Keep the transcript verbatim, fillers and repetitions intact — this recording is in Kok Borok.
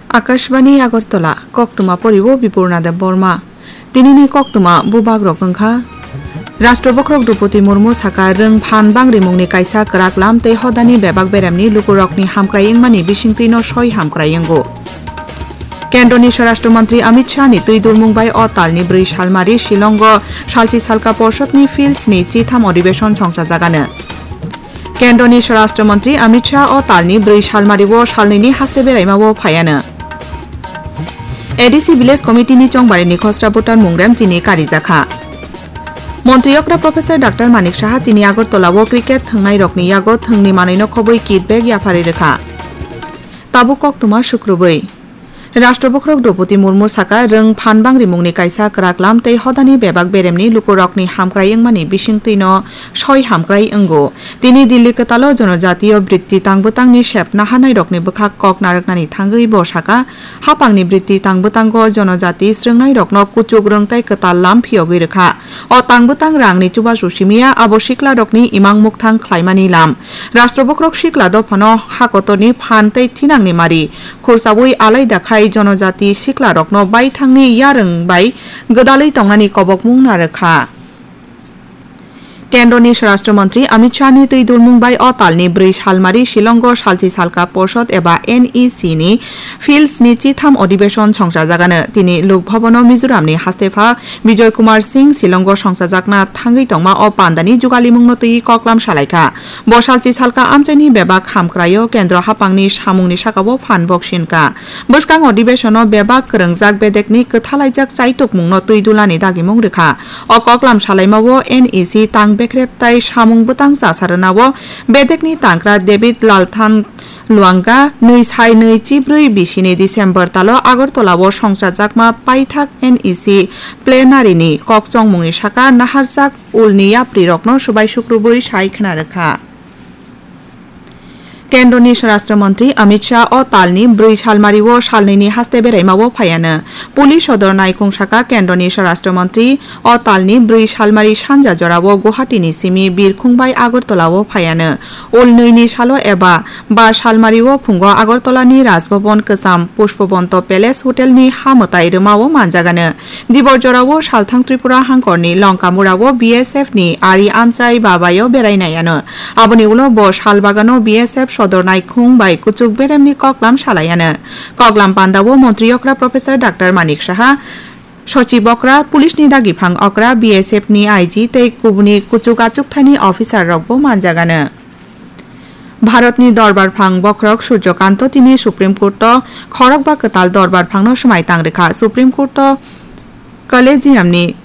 Akashbani Agartala, koktwma poriwo Bipurna Deb Borma. Tinini koktwma bubagrok wngkha. Rashtra Bokhorok Droupadi Murmu saka rwng phan bangrimungni kaisa kwrak lam tei hodani bebak beremni lukurokni hamkrai wngmani bisingtwino soi hamkrai wngo. Kendroni Swarashtra Mantri Amit Shah ni twi dulmung bai o talni bwrwi salmari Shillongo salchi salka porshotni Fields ni chitham odibeshon songsajagano. Kendroni Swarashtra Mantri Amit Shah o talni bwrwi salmario salnwini haste beraimao phaiano. A D C Village Committee ni chongbarini khosra voter mungrem tini karijakha. Montri okra Professor Doctor Manik Saha tini Agartala o cricket thwngnairokni yago thwngni manwino khobwi kit bag yapharwi rwkha. Tabuk koktwma sukrubwi. Rashtra Bokhorok Droupadi Murmu saka rwng phan bangrimungni kaisa kwrak lam tei hodani bebak beremni lukurokni hamkrai wngmani bisingtwino soi hamkrai wngo. Tini Delhi kwtalo jonojatiyo brikti tangbwtangni sep naharnairokni bwkhak kok narwknani thangwi bo saka, hapangni brikti tangbwtango jonojati srwngnairokno kuchuk rwng tei kwtal lam phiyogwi rwkha. O tangbwtang rangni chubachu simiya abo siklarokni imang mukthang khlaimani lam. Rashtra Bokhorok sikla dophano hakotorni phan tei thinangni mari khursaui alaida khai jonojati siklarokno baithangni yarwng bai gwdalwi tongnani kobokmung narwkha. Kendroni Swarashtra Mantri Amit Shah ni twi dulmung bai o talni bwrwi salmari Shillongo salchi salka porshot eba N E C ni Fields ni chitham odibeshon songsajagano. Tini Lok Bhavan o Mizoram ni hastepha Bijoy Kumar Singh Shillongo songsajakna thangwi tongma o pandani jugalimungno twi koklam salaikha. Bo salchi salka amchaini bebak hamkraio kendro hapangni samungni sakao phan boksinkha. Bwskang odibeshono bebak kwrwngjak bedekni kwthalaijak chaitukmungno twi dulani dagimung rwkha. O koklam salaimao N E C tang bekrep tai samung bwtang chasarwnao bedekni tangkra David Lalthan Luanga nwi sai nwi chibrwi bisini December talo Agartala o songchajakma paithak N E C plenary ni kokchongmungni saka naharjak ulni yaprirokno subai sukrubwi sai khna rwkha. Kendroni Swarashtra Mantri Amit Shah o talni bwrwi salmario salnwini haste beraimao phaiano. Police sodor naikhung saka Kendroni Swarashtra Mantri o talni bwrwi salmari sanja jorao Guwahati ni simi birkhung bai Agartala o phaiano. Ul nwi ni salo eba ba salmari o phungo Agartala ni Raj Bhavan kwcham Pushpabanta Palace Hotel ni ha mwtai rwma o manjagano. Dibor jora o salthang Tripura hangkor ni Longkamura o B S F ni ari amchai babai o berai nai ano. Aboni ulo bo sal bagano B S F sodor naikhung bai kuchuk berem ni koklam salai ano. Koklam panda o montri okra Professor Doctor Manik Saha, sochib okra, police ni dagiphang okra, B S F ni I G tei kubuni kuchuk achukthai ni officer rok bo manjagano. Bharatni Dorbar Phang Bokhorok Surjo Kanto tini Supreme Court o khorokba kwtal Dorbar Phangno swmai tang rwkha. Supreme Court o Collegium ni